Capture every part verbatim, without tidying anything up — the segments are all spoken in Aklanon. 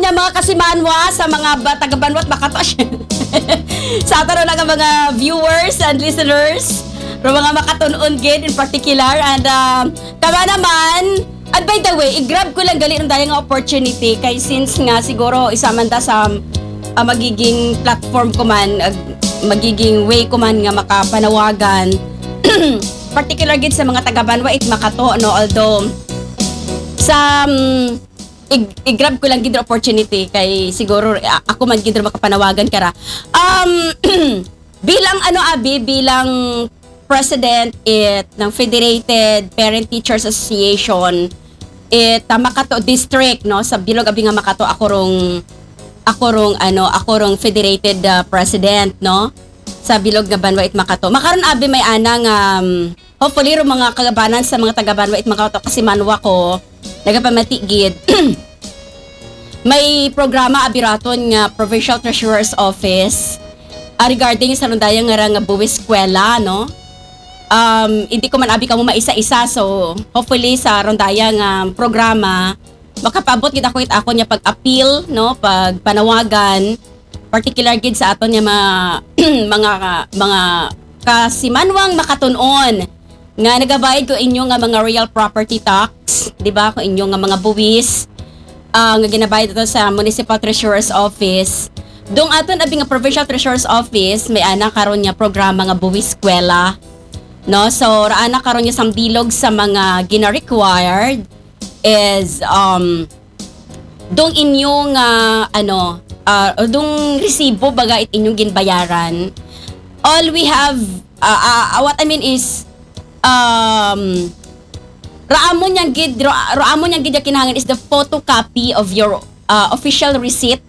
Nya, mga kasimanwa, sa mga ba, taga Banwa it Makato, sa aton na nga mga viewers and listeners, ro mga makatun-on gid in particular, and um, tama naman. And by the way, i-grab ko lang gali rong daya nga opportunity kay since nga siguro isa man ta sa ah, magiging platform ko man, ah, magiging way ko man nga makapanawagan, particular gid sa mga taga Banwa it Makato, no? Although sa um, ig- i-grab ko lang gid opportunity kay siguro ah, ako man gid makapanawagan kara. Um, bilang ano, abi, bilang president it ng Federated Parent Teachers Association it ah, Makato District, no, sa bilog abi nga Makato, ako rong ako rong ano, ako rong federated ah, president, no, sa bilog nga Banwa it Makato. Makaron abi may ana nga um, hopefully ro mga kagabanan sa mga taga Banwa it Makato, kasimanwa ko nagapamati gid. May programa abi raton nga Provincial Treasurer's Office ah, regarding sa rong daya nga ra nga buwis eskwela, no? Um, hindi ko man abi kamo maisa-isa, so hopefully sa rong daya nga programa makapaabot gid ako it akon nga pag-appeal, no, pagpanawagan, particular gid sa aton nga mga mga mga kasimanwang makatun-on nga nagabayad ko inyo nga mga real property tax, di ba? Ko inyo nga mga buwis ah, nga ginabayad ato sa Municipal Treasurer's Office. Dong aton abi nga Provincial Treasurer's Office, may ana karon nga programa nga buwis eskwela. No? So, ra ana karon nga sambilog sa mga gina-required is um dong inyo nga ano, ah, dong resibo baga it inyong ginbayaran. All we have, ah, ah, ah, what I mean is, um, ra amo niyang gid, ra, ra amo niyang gid nga kinahanglan is the photocopy of your ah, official receipt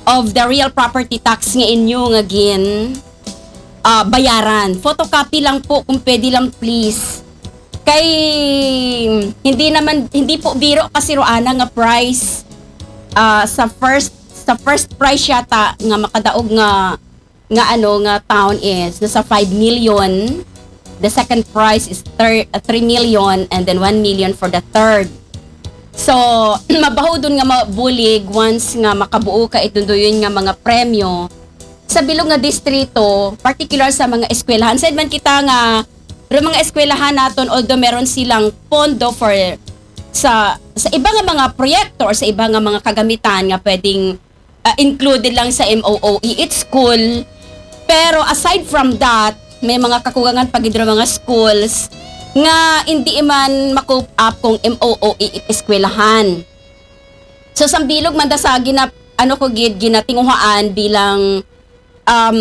of the real property tax nga inyo nga gin ah, bayaran. Photocopy lang po kung pwede lang, please. Kay hindi naman, hindi po biro kasi ro ana nga price ah, sa first sa first price yata nga makadaog nga nga ano nga town is nasa five million. The second prize is thir- uh, three million, and then one million for the third. So, mabaho dun nga mabulig once nga makabuo ka it dunduyon nga mga premyo sa bilog nga distrito, particular sa mga eskwelahan. Said man kita nga ro mga eskwelahan naton, although meron silang pondo for sa sa iba nga mga proyekto or sa iba nga mga kagamitan nga pwedeng ah, included lang sa M O O E it school. Pero aside from that, may mga kakugangan pa gid ra mga schools nga hindi man ma-cope up kung M O O E it eskwelahan. So sambilog man da sa gina ano ko gid ginatinguhaan bilang um,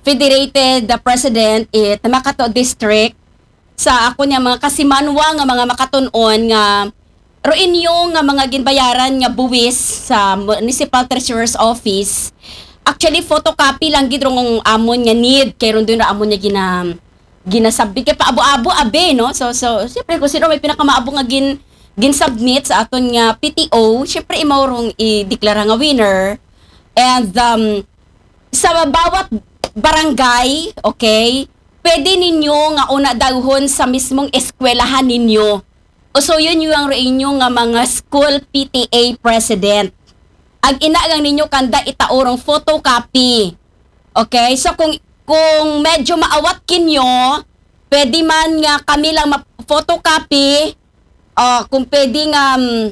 federated the president it Makato District sa ako niya mga kasimanwa nga mga makatun-on nga ro inyo nga mga ginbayaran nga buwis sa Municipal Treasurer's Office. Actually, photocopy lang gid rong amon nga need kay ron dun ra amon nga gina ginasabit kay paabo-abo abi, no? So so syempre kung sino may pinakamaabo nga gin gin-submit sa aton nga P T O, syempre imaw rong ideklara nga winner. And um, sa bawat barangay, okay, pwede ninyo nga una dawhon sa mismong eskwelahan ninyo. Usuyon nyo ang inyo nga mga school P T A president. Ag ina gang ninyo kanda itaorong photocopy. Okay? So kung kung medyo maawat kinyo, pwede man nga kami lang ma-photocopy, o kung pwede nga um,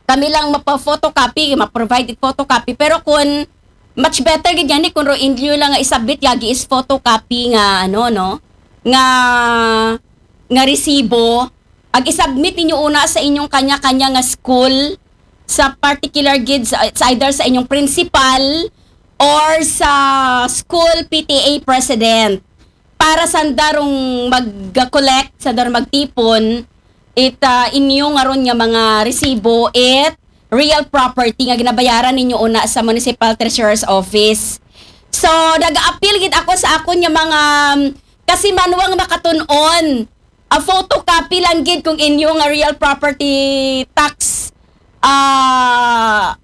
kami lang mapa-photocopy, ma-provide it photocopy. Pero kung much better gid yan eh, kung ro inyo lang nga isabit yagi is photocopy nga ano no, nga nga resibo, ag isubmit ninyo una sa inyong kanya-kanya nga school, sa particular gid sa, it's either sa inyong principal or sa school P T A president para sanda rong mag-collect, sanda rong magtipon it ah, inyo nga ron nga mga resibo it real property nga ginabayaran ninyo una sa Municipal Treasurer's Office. So, nag-appeal gid ako sa akon nga mga um, kasimanwang makatun-on a photocopy lang gid kung inyo nga real property tax ah